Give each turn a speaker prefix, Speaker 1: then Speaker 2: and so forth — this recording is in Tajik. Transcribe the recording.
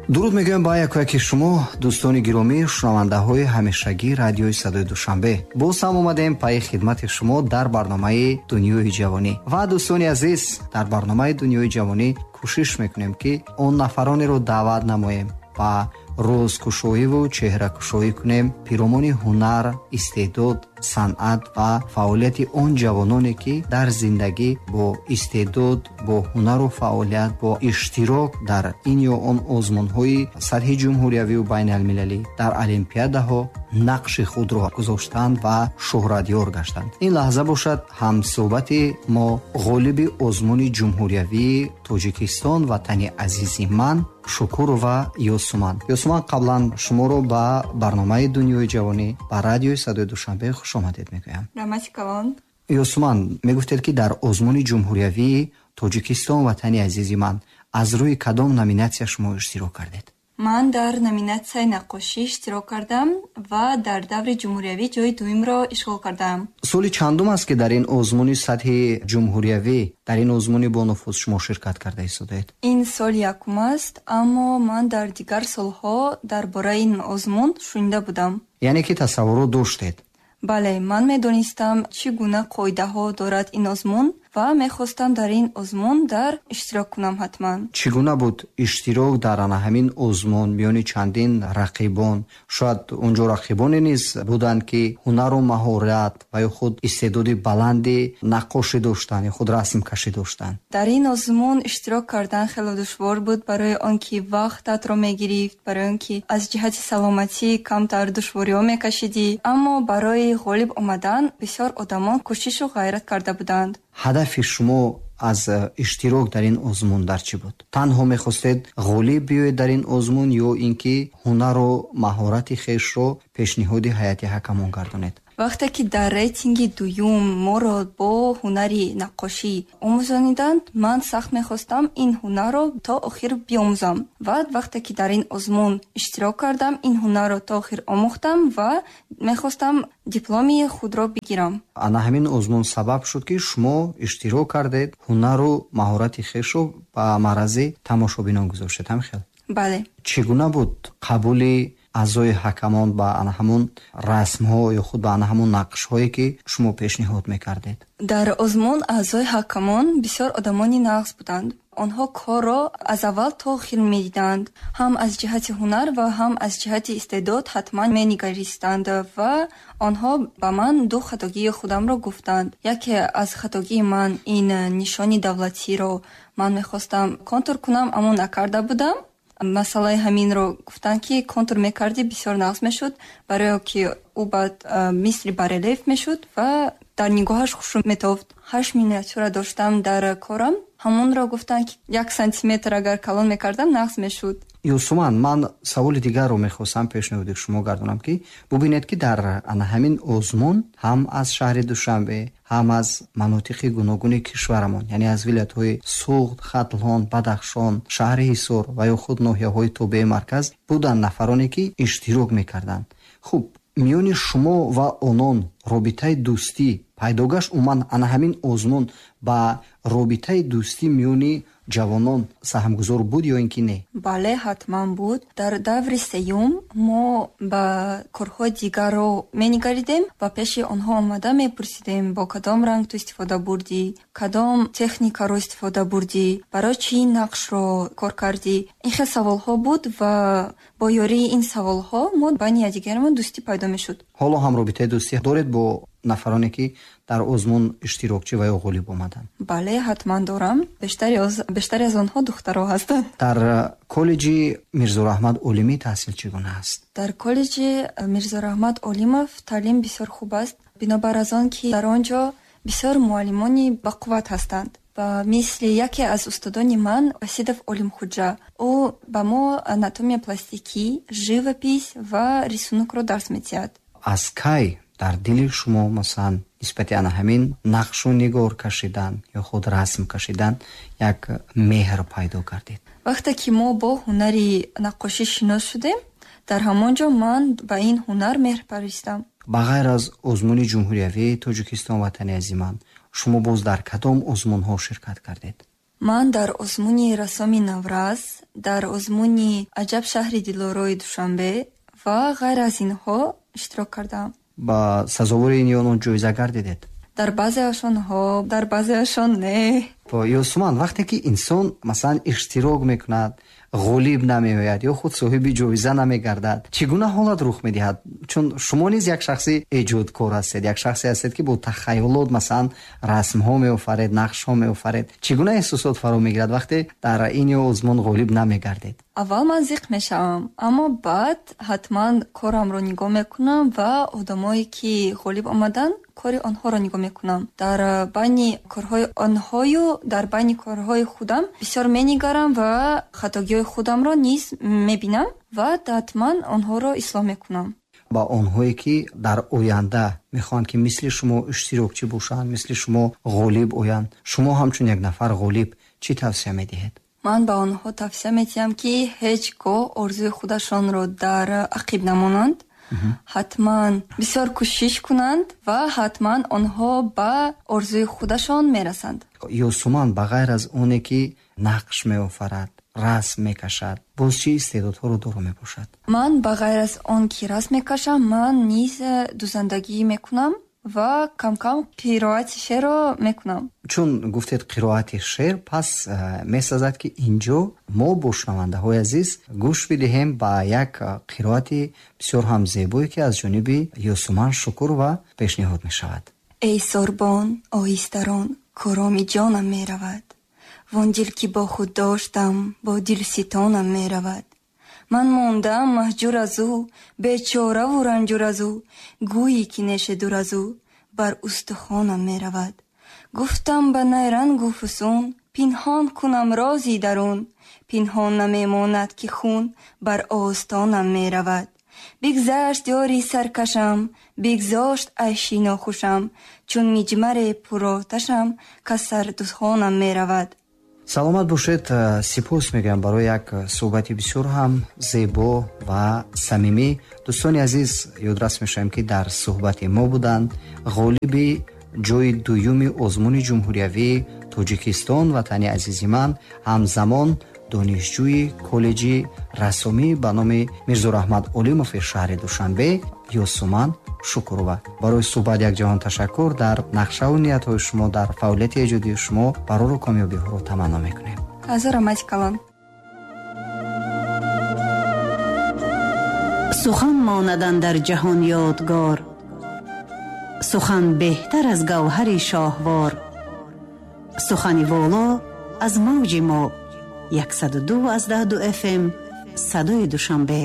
Speaker 1: Дуруд мегӯям ба якояки шумо, дӯстони гиромӣ, шунавандаҳои ҳамешагии радиои Садои Душанбе. Боз ҳам омадем пайи хидмати шумо дар барномаи Дунёи ҷавонӣ. Ва дӯстони азиз, дар барномаи Дунёи ҷавонӣ кӯшиш мекунем, ки он нафаронеро даъват намоем ва рӯзкушоиву чеҳракушоӣ кунем пиромони ҳунар, истеъдод, санъат ва фаъолияти он ҷавононе, ки дар зиндагӣ бо истеъдод, бо ҳунару фаъолият, бо иштирок дар ин ё он озмунҳои сатҳи ҷумҳуриявию байналмилалӣ, дар олимпиадаҳо нақши худро гузоштанд ва шӯҳратёр гаштанд. Ин лаҳза бошад ҳамсӯҳбати мо ғолиби озмуни ҷумҳуриявии Тоҷикистон ватани азизи ман Шукурова Ёсуман. Ёсуман, қаблан шуморо ба барномаи Дунёи ҷавонӣ ба радиои Садои Душанбе хуш омадед мегӯям.
Speaker 2: Раҳмати калон.
Speaker 1: Ёсуман, мегуфтед, ки дар озмуни ҷумҳуриявии Тоҷикистон ватани азизи ман аз рӯи кадом номинатсия шумо иштирок кардед?
Speaker 2: Ман дар номинатсияи наққошӣ иштирок кардам ва дар даври ҷумҳуриявӣ ҷои дуюмро ишғол кардам.
Speaker 1: Соли чандум аст, ки дар ин озмуни сатҳи ҷумҳуриявӣ, дар ин озмуни бонуфуз шумо ширкат карда истодаед?
Speaker 2: Ин соли якум аст, аммо ман дар дигар солҳо дар бораи ин озмун шунида будам.
Speaker 1: Яъне ки тасаввурот доштед?
Speaker 2: Бале, ман медонистам, чӣ гуна қоидаҳо дорад ин озмун ва мехостам дар ин озмун дар иштирок кунам ҳатман.
Speaker 1: Чӣ гуна буд иштирок дар ана ҳамин озмун миёни чандин рақибон? Шояд он ҷо рақибоне низ буданд, ки ҳунару маҳорат ва ё худ истеъдоди баланди наққошӣ доштанд ё худ расмкашӣ доштанд.
Speaker 2: Дар ин озмун иштирок кардан хеле душвор буд, барои он ки вақтатро мегирифт, барои он ки аз ҷиҳати саломатӣ камтар душвориҳо мекашидӣ, аммо барои ғолиб омадан бисёр одамон кӯшишу ғайрат карда буданд.
Speaker 1: Ҳадафи шумо аз иштирок дар ин озмун дар чӣ буд? Танҳо мехостед ғолиб биёед дар ин озмун ё ин ки ҳунару маҳорати хешро пешниҳоди ҳайати ҳакамон гардонед?
Speaker 2: Вақте ки дар рейтинги дуюм моро бо ҳунари наққошӣ омӯзониданд, ман сахт мехостам ин ҳунарро то охир биомӯзам. Ва вақте ки дар ин озмун иштирок кардам, ин ҳунарро то охир омӯхтам ва мехостам дипломи худро бигирам.
Speaker 1: Ана ҳамин озмун сабаб шуд, ки шумо иштирок кардед, ҳунару маҳорати хешро ба маърази тамошобинон гузоштед, ҳам хел?
Speaker 2: Бале.
Speaker 1: Чӣ гуна буд қабули аъзои ҳакамон ба ана ҳамун расмҳо ё худ ба ана ҳамун нақшҳое, ки шумо пешниҳод мекардед?
Speaker 2: Дар озмун аъзои ҳакамон бисёр одамони нағз буданд. Онҳо корро аз аввал то охир медиданд, ҳам аз ҷиҳати ҳунар ва ҳам аз ҷиҳати истеъдод ҳатман менигаристанд ва онҳо ба ман ду хатогии худамро гуфтанд. Яке аз хатогии ман ин нишони давлатиро ман мехостам контур кунам, аммо накарда будам. Масъалаи ҳаминро гуфтанд, ки контур мекардӣ, бисёр нағз мешуд, барои ки ӯ баъд мисли барельеф мешуд ва дар нигоҳаш хушрӯ метофт. 8 миниатюра доштам дар корам, ҳамонро гуфтанд, ки 1 сантиметр агар калон мекардам, нағз мешуд.
Speaker 1: Ёсуман, ман саволи дигарро мехостам пешниҳоди шумо гардонам, ки бубинед, ки дар ана ҳамин озмун ҳам аз шаҳри Душанбе, ҳам аз манотиқи гуногуни кишварамон, яъне аз вилоятҳои Суғд, Хатлон, Бадахшон, шаҳри Ҳисор ва ё худ ноҳияҳои тобеи марказ буданд нафароне, ки иштирок мекарданд. Хуб, миёни шумо ва онон робитаи дӯстӣ пайдо гашт? Умуман ана ҳамин озмун ба робитаи дӯстӣ миёни ҷавонон саҳмгузор буд ё ин ки не?
Speaker 2: Бале, ҳатман буд. Дар даври сеюм мо ба корҳои дигарро менигаридем ва пеши онҳо омада мепурсидем, бо кадом ранг ту истифода бурдӣ, кадом техникаро истифода бурдӣ, барои чӣ ин нақшро кор кардӣ. Ин хел саволҳо буд ва бо ёрии ин саволҳо мо байни якдигарамон дӯстӣ пайдо мешуд.
Speaker 1: Ҳоло ҳам робитаи дӯстӣ доред бо нафароне, ки дар озмун иштирокчӣ ва ё ғолиб омаданд?
Speaker 2: Бале, ҳатман дорам. Бештари аз онҳо духтаро ҳастанд.
Speaker 1: Дар коллеҷи Мирзораҳмат Олимӣ таҳсил чӣ гуна аст?
Speaker 2: Дар коллеҷи Мирзораҳмат Олимов таълим бисёр хуб аст, бинобар аз он ки дар он ҷо бисёр муаллимони бақувват ҳастанд. Ва мисли яке аз устодони ман Васидов Олимхуҷа, ӯ ба мо анатомия пластикӣ, живопись ва рисунокро дарс медиҳад.
Speaker 1: Аз кай дар дили шумо, масалан, нисбати ана ҳамин нақшу нигор кашидан ё худ расм кашидан як меҳр пайдо кардед?
Speaker 2: Вақте ки мо бо ҳунари наққошӣ шинос шудем, дар ҳамон ҷо ман ба ин ҳунар меҳр паристам.
Speaker 1: Ба ғайр аз озмуни ҷумҳуриявии Тоҷикистон ватани азиман, шумо боз дар кадом озмунҳо ширкат кардед?
Speaker 2: Ман дар озмуни Рассоми наврас, дар озмуни Аҷаб шаҳри дилорои Душанбе ва ғайр аз инҳо иштирок кардаам.
Speaker 1: Ба сазовори ин ё он ҷоиза гардидед?
Speaker 2: Дар баъзеашон ҳо, дар баъзеашон не.
Speaker 1: Ёсуман, вақте ки инсон масалан иштирок мекунад, ғолиб намеояд ё худ соҳиби ҷоиза намегардад, чӣ гуна ҳолат рух медиҳад? Чун шумо низ як шахси эҷодкор ҳастед, як шахсе ҳастед, ки бо тахайюлот масалан расмҳо меофаред, нақшҳо меофаред. Чӣ гуна эҳсосот фаро мегирад вақте дар ин ё озмун ғолиб намегардед?
Speaker 2: Аввал ман зиқ мешавам, аммо баъд ҳатман корамро нигоҳ мекунам ва одамое ки ғолиб омаданд, кори онҳоро нигоҳ мекунам. Дар байни корҳои онҳою дар байни корҳои худам бисёр менигарам ва хатогиҳои худамро низ мебинам ва ҳатман онҳоро ислоҳ мекунам.
Speaker 1: Ба онҳое ки дар оянда мехоҳанд ки мисли шумо иштирокчӣ бошанд, мисли шумо ғолиб оянд, шумо ҳамчун як нафар ғолиб чӣ тавсия медиҳед?
Speaker 2: Ман ба онҳо тавсия медиҳам, ки ҳеҷ гоҳ орзуи худашонро дар ақиб намонанд, ҳатман бисёр кӯшиш кунанд ва ҳатман онҳо ба орзуи худашон мерасанд.
Speaker 1: Ёсуман, ба ғайр аз оне ки нақш меофарад, расм мекашад, боз чӣ истеъдодҳоро доро мебошад?
Speaker 2: Ман ба ғайр аз он ки расм мекашам, ман низ дузандагӣ мекунам ва кам-кам қироати шеърро мекунам.
Speaker 1: Чун гуфтед қироати шеър, пас месазад ки инҷо мо бо шунавандаҳои азиз гӯш бидиҳем ба як қироати бисёр ҳам зебое, ки аз ҷониби Ёсуман Шукурова пешниҳод мешавад.
Speaker 2: Эй сорбон, оҳистарон, короми ҷонам меравад. Вон дил ки бо худ доштам, бо дилситонам меравад. Ман мондаам маҳҷур аз ӯ, бечораву ранҷур аз ӯ, гӯйӣ ки неше дур аз ӯ бар устухонам меравад. Гуфтам ба найрангу фусун, пинҳон кунам рози дарун, пинҳон намемонад ки хун бар остонам меравад. Бигзашт ёри саркашам, бигзошт айши нохушам, чун миҷмаре пуроташам, кас сардухонам меравад.
Speaker 1: Саломат бошед. Сипос мегӯям барои як суҳбати бисёр ҳам зебо ва самимӣ. Дӯстони азиз, ёдрас мешавем, ки дар суҳбати мо буданд ғолиби ҷои дуюми озмуни ҷумҳуриявии Тоҷикистон, ватани азизи ман, ҳамзамон донишҷӯи коллеҷи рассомӣ ба номи Мирзораҳмат Олимови шаҳри Душанбе, Ёсуман Шукурова. Барои суҳбат як ҷаҳон ташаккур. Дар нақшаву ниятҳои шумо, дар фаъолияти эҷодии шумо барору комёбиҳоро таманно мекунем.
Speaker 2: Ҳазор раҳмати калон.
Speaker 3: Сухан монад андар ҷаҳон ёдгор, сухан беҳтар аз гавҳари шоҳвор. Сухани воло аз мавҷи мо 102.2 FM, садои Душанбе.